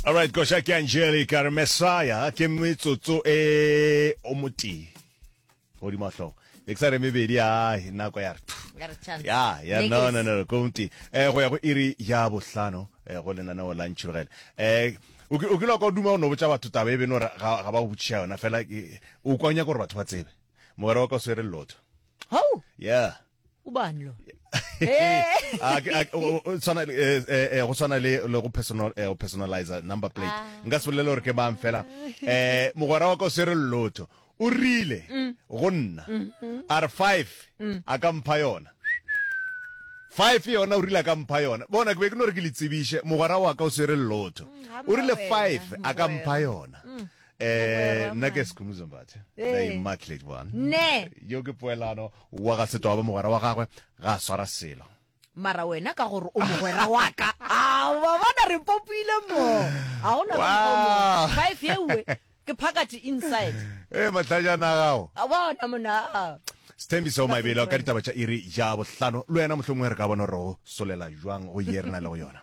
Alright, koša ke Angelica re Messiah ke metsotso e o motee godimo ga hlogo be ke sa re mebedi a nako ya re Ya re chance. ya ya Ne no ke no no ko motee eh go ya go iri ya bohlano eh go lenaneo la ntšhirogele eh o ki- o kile wa kwa o duma go no botša batho taba e beno gore ga ga ba go botšiša yona fela ke- o kwa o nyaka gore batho ba tsebe mogwera wa ka o swere lotho Hau, yeah ubani lo? A ke- a ke- o- o- tshwana le, eh, eh, eh, go tshwana le le go personal eh, go personalizer number plate Ah. nka se bolele gore ke mang fela eh mogwera wa ka o swere lotho o rile Mm. go nna Mm-hmm. a re five Mm. a ka mpha yona five yona o rile a ka mpha yona bona ke be ke no re ke le tsebiše mogwera wa ka o swere lotho Mm, o rile mogwera, five a ka mogwera. mpha yona Mm. Eh, Mogwera nna ke man. Skhumbuzo Mbatha Ee. the immaculate one Ne. yo ke poelano wa ga Setwaba mogwera wa gagwe ga a swara selo Mara wena ka gore o mogwera wa ka. A wa bona re popile mo. A gona ka mokgwa o mongwe. Wow. Five yewe ke phakathi inside. ee mahlajana a gago A bona mona. Sthembiso Maibelo ka ditaba tša iri ya bohlano le wena mohlomongwe re ka bona gore go solela jwang go ye re na le go yona.